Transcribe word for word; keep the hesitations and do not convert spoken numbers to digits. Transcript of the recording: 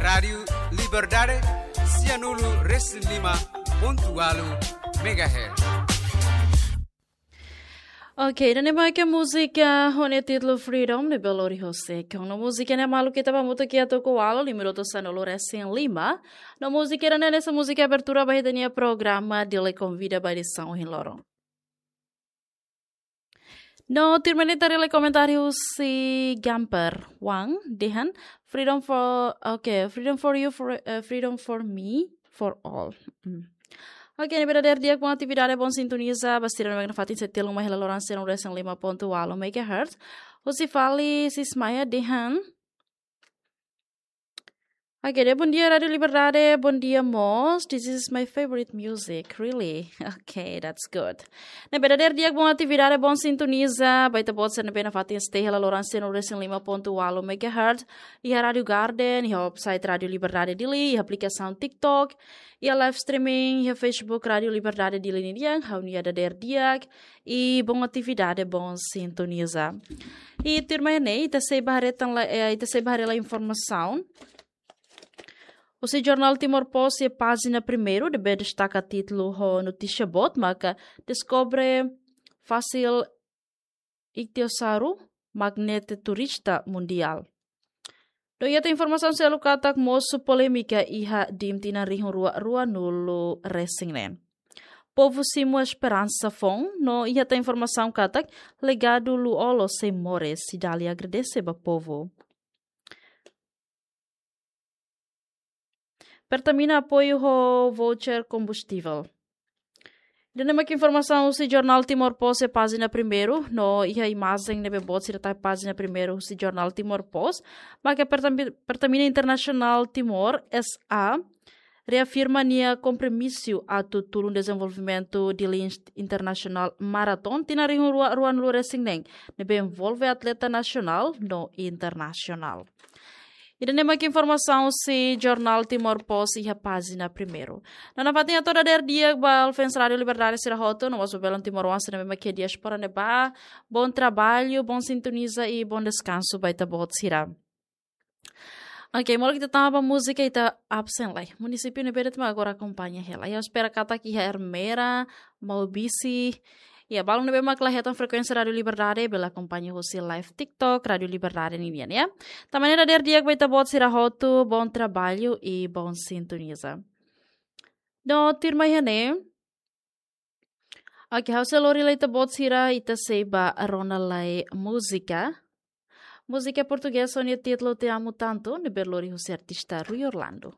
Rádiu Liberdade, sianulu resin lima pontu walu megahertz. Ok, ida-ne'e mak múzika ho nia títulu Freedom ne'ebé lori hosi Ekon. No múzika ne'e maluk ita ba mutu kiak tuku walu, lima minutu sanulu resin lima. No múzika ida-ne'e hanesan múzika abertura ba ita-nia programa Dili Konvida ba edisaun ohin loron. No tuirmai ne'e ita haree komentáriu husi Gamper Wang dehan, "Freedom for, ok, freedom for you, for, eh, freedom for me, for all." Hmm. Ok, ne'ebé dadeer di'ak, bom atividade, bom sintoniza ba sira ne'ebé nafatin sei telun mai hela loron sanulu resin lima pontu walu megahertz. Husi Fali Sismaya dehan, ok, dehan, "Bom dia, Rádiu Liberdade, bom dia, mós. This is my favorite music, really." Ok, that's good. Ne'ebé dadeer di'ak, bom atividade, bom sintoniza ba ita-boot sira ne'ebé nafatin stay hela loron sanulu resin lima pontu walu megahertz. Iha Rádiu Garden, iha website Rádiu Liberdade Dili, iha aplikasaun TikTok, iha live streaming, iha Facebook Rádiu Liberdade Dili ninian, ha'u-nia dadeer di'ak, i bom atividade, bom sintoniza. I tuirmai ne'e, ita sei ba haree tan la, eh, ita sei ba haree la informasaun husi jornál Timor Post iha pájina primeiru, ne'ebé destaka títulu ho notísia boot, maka deskobre fósil Ichthyosaurus, magnete turista mundiál. No iha tan informasaun seluk katak mosu polémika iha DIM tinan rihun rua ruanulu resin neen. Povu simu esperansa foun, no iha tan informasaun katak legadu Lú-Olo sei moris, Cidália agradese ba povu. Pertamina apoiu ho voucher kombustivel. Ida-ne'e mak informasaun husi jornál Timor Post iha pájina primeiru, no iha imajen ne'ebé boot sira tau iha pájina primeiru husi jornál Timor Post, maka Pertam-, Pertamina Internasionál Timor S A reafirma nia kompromisu atu tulun dezenvolvimentu Dili International Marathon tinan rihun rua ruanulu resin neen, ne'ebé envolve atleta nasionál no internasionál. Ida-ne'e mak informasaun husi jornál Timor Post iha pájina primeiru. No nafatin hato'o dadeer di'ak ba fans Rádiu Liberdade sira hotu, no mós ba belun timoroan sira ne'ebé mak iha diáspora ne'ebá. Bom trabalho, bom sintoniza i bom deskansu ba ita-boot sira. Ok, molok ita tama ba múzika, ita absen lai. Munisípiu ne'ebé de'it mak agora akompaña hela. Ha'u espera katak iha Ermera, Maubisse, iha balun ne'ebé mak la hetan frekuénsia Rádiu Liberdade, bele akompaña husi live TikTok Rádiu Liberdade ninian, ya. Tan ne'e dadeer di'ak ba ita-boot sira hotu, bom trabalho i bom sintoniza. No tuirmai ne'e, ok, ha'u sei lori lai ita-boot sira, ita sei ba rona lai múzika. Múzika portugés ho nia títulu Te Amo Tanto, ne'ebé lori husi artista Rui Orlando.